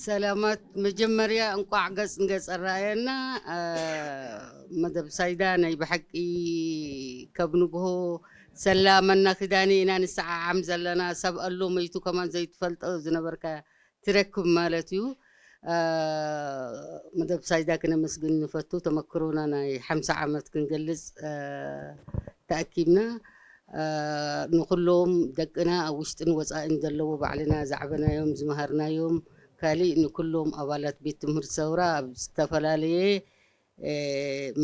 ሰላማት፣ መጀመርያ እንቋዕ ገጽ ንገጽ ኣረኣየና። መደብ ሳይዳ ናይ ብሓቂ ካብ ንግሆ ሰላመና ክዳን ኢና ንሰዓዓም ዘለና። ሰብ ኣሎ መይቱ ከማን ዘይትፈልጦ ዝነበርካ ትረክብ ማለት እዩ። መደብ ሳይዳ ክነመስግን ንፈቱ። ተመክሮና ናይ ሓምሳ ዓመት ክንገልጽ ተኣኪብና። ንኩሎም ደቅና ኣብ ውሽጥን ወፃእን ዘለዎ ባዕልና ዛዕበናዮም ዝመሃርናዮም ካሊእ ንኩሎም ኣባላት ቤት ትምህርቲ ሰውራ ኣብ ዝተፈላለየ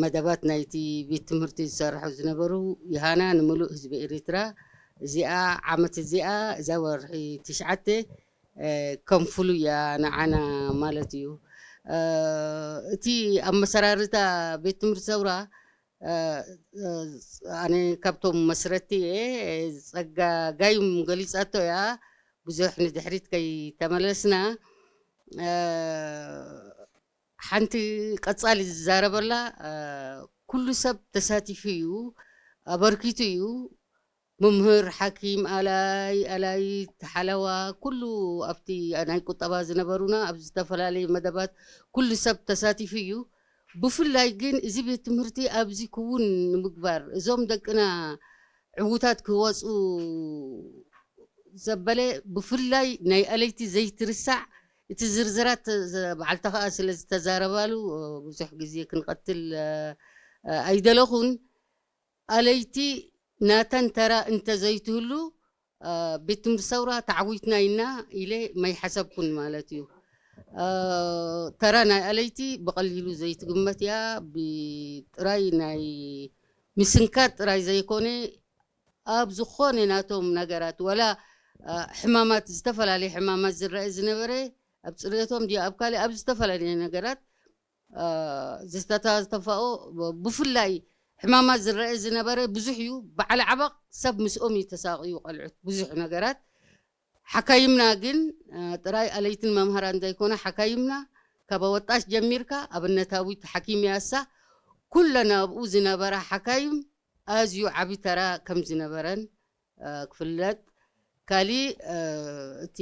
መደባት ናይቲ ቤት ትምህርቲ ዝሰርሑ ዝነበሩ ይሃና ንምሉእ ህዝቢ ኤርትራ። እዚኣ ዓመት እዚኣ እዛ ወርሒ ትሽዓተ ከም ፍሉይ እያ ንዓና ማለት እዩ። እቲ ኣመሰራርታ ቤት ትምህርቲ ሰውራ ኣነ ካብቶም መስረቲ እየ። ጸጋ ጋይም ገሊጻቶ እያ። ብዙሕ ንድሕሪት ከይተመለስና ሓንቲ ቀጻሊ ዝዛረበላ ኩሉ ሰብ ተሳቲፉ እዩ፣ ኣበርኪቱ እዩ። መምህር፣ ሓኪም፣ ኣላይ ኣላይት፣ ሓለዋ፣ ኩሉ ኣብቲ ናይ ቁጠባ ዝነበሩና ኣብ ዝተፈላለዩ መደባት ኩሉ ሰብ ተሳቲፉ እዩ። ብፍላይ ግን እዚ ቤት ትምህርቲ ኣብዚ ክውን ንምግባር እዞም ደቅና ዕዉታት ክወፁ ዘበለ ብፍላይ ናይ ኣለይቲ ዘይትርሳዕ እቲ ዝርዝራት በዓልታ ከዓ ስለ ዝተዛረባሉ ብዙሕ ግዜ ክንቐትል ኣይደለኹን። ኣለይቲ ናተን ተራ እንተዘይትህሉ ቤት ትምህርቲ ሰውራ ተዓዊትና ኢና ኢለ ማይሓሰብኩን ማለት እዩ። ተራ ናይ ኣለይቲ ብቐሊሉ ዘይትግመት እያ። ብጥራይ ናይ ምስንካት ጥራይ ዘይኮነ ኣብ ዝኾነ ናቶም ነገራት ወላ ሕማማት፣ ዝተፈላለየ ሕማማት ዝረአ ዝነበረ ኣብ ፅርየቶም ድዩ ኣብ ካልእ ኣብ ዝተፈላለየ ነገራት ዝተተፋኦ ብፍላይ ሕማማት ዝረአ ዝነበረ ብዙሕ እዩ። በዓል ዓበቕ ሰብ ምስኦም እዩ ተሳቕዩ ቆልዑት ብዙሕ ነገራት። ሓካይምና ግን ጥራይ ኣለይትን መምሃራን ዘይኮነ ሓካይምና ካብ ኣወጣሽ ጀሚርካ ኣብነታዊት ሓኪም ያሳ ኩለን ኣብኡ ዝነበራ ሓካይም ኣዝዩ ዓቢ ተራ ከም ዝነበረን ክፍለጥ። ካሊእ እቲ